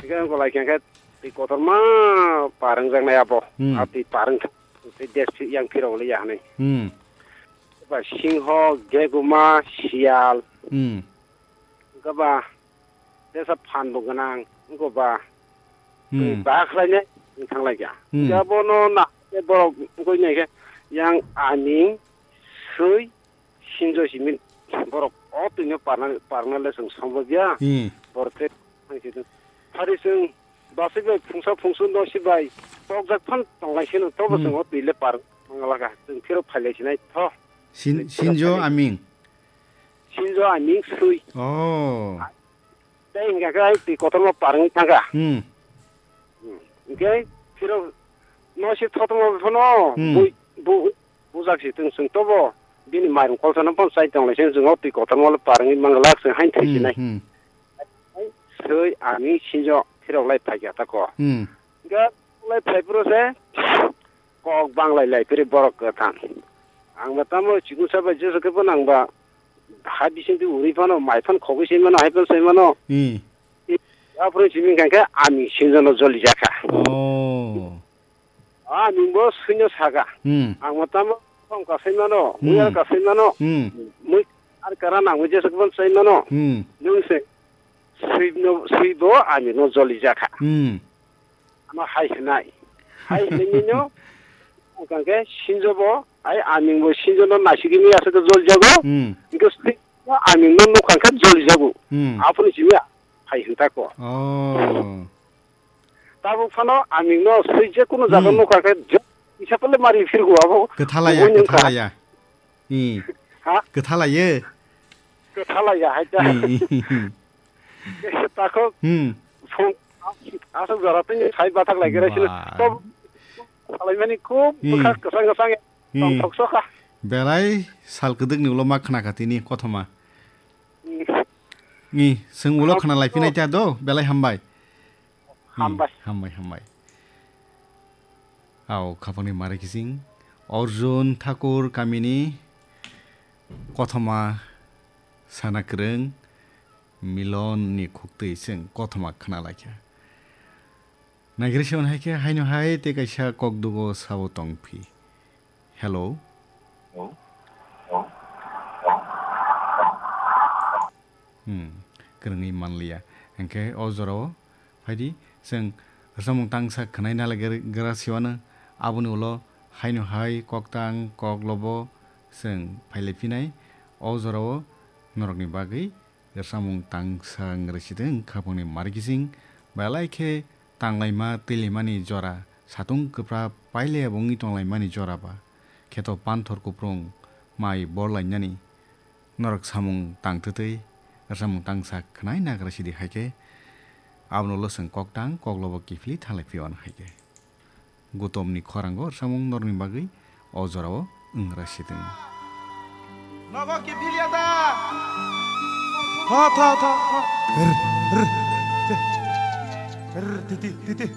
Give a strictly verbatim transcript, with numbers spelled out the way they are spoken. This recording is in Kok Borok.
Hingke wng golai khe, hingke twi kotorma par wngjaknai abo. Hmm. A twi par wngkha, tei des yang phirok le ya hinui. Hmm. Ba singho, geguma, siyal. Hmm. Hingke ba tesa phan bo gwnang, wngkha ba. Hmm. Twi ba khlainai wng thanglaikha. Hmm. Hingke abono na, borok wngkha nai khe yang aming, sui, sinjo simi borok o twino parna, parna le chwng sombo ya. Hmm. Borok te thang si phari chwng basik bai phungsa phungsu no si bai tokjak phan tonglai sino tobo Hmm. chwng o twi le par manglaka chwng phiro phailai sinai tho. Sin-, Phiro sinjo phailai. Aming. Sinjo aming sui. Oh. Tei hingka khe ai twi kotorma par wngwi thangkha. Hmm. Hmm. Hingke phiro no si thothongma phano Hmm. bui-, bu-, bujak si tong chwng tobo bini mairung kolsano phano chai tonglai se chwng o twi kotorma le par wngwi manglak chwng hain thai Hmm, sinai. Hmm. Sui ani sinjo phirok lai phaikha tako. Hmm. Hingke lai phai phuru se kok banglai lai phiri borok kwthang. Ang ba tamo chikung sabai jesu khe phano ang ba ha bisingtwi uri phano mai phano khogwi se mano hai phano sai mano. Hmm. Aphuru simi hingka khe ani sinjono joli jakha. Oh. Ani bo suino saka. Hmm. Ang mo tamo song kasai mano, Hmm. Uyar kasai mano. Hmm. Mui ar kara nang mui jesok bon sai mano. Hmm. Nung se sui no, sui bo ani no joli jakha. Hmm. Ama hai hinai. Hai hinai no, ang kangke sinjo bo, ai ani bo sinjo no nasigi mi asa to joli jago. Hmm. Hingke sui no ani no nukha khe joli jago. Hmm. Aphuru simi hai hinta ko. Oh. Tabuk phano aming no sui je kuno jaga Hmm. nukha khe je isa pele mari phirgo abo. Kwthalaya, Kubun wngkha. Kwthalaya. Hmm. Ha? Kwthalaya. Kwthalaya hai ta. Hmm, hmm, hmm, hmm. Takhok Hmm. phung asuk jora tini sai bathak lai gere sino. Ba. To salai mani khub Hmm. bwkha kwsang kwsang Hmm. tongthok sokha. Belai sal kwdwkni ulo ma khna kha tini kothoma. Hmm. Ni, chwng ulo Hambai. Khna lai phinai ta do, belai hambai. Hambai. Hmm, hambai, hambai. Ao, khapangni mari kising. Arjun Thakur kamini kothoma sana kwrwng Milon ni khuktwi chwng kothoma khna lai kha. Naigrisi on hai khe haino hai tei kaisa kokdugo sabo tong phi. Hello. Hello. Hmm, kwrwngwi manliya. Hwnkhe o jorao phaidi, chwng rwchapmung tangsa khwnai nalai gra siwano, aboni ulo haino hai koktang koklobo chwng phailai phinai. O jorao norokni bagwi rwchapmung tangsa wng rwchitwng khapangni mari kising, belai khe tanglaima twilaimani jora, satung kwpra pailaiya bo wngwi tonglaimani jora ba, kheto panthor kuprung mai borlainani norok samung tangtwtwi rwchapmung tangsa khwnai nagra sidi hai khe, abono ulo chwng koktang koklobo kiphilwi thanglai phiyano hai khe. Gutomni khorango rwchapmung norokni bagwi o jorao wng rwchitwng. Nogo kiphilya da? Tho, tho, tho, tho. R, r, te, r, titi, titi.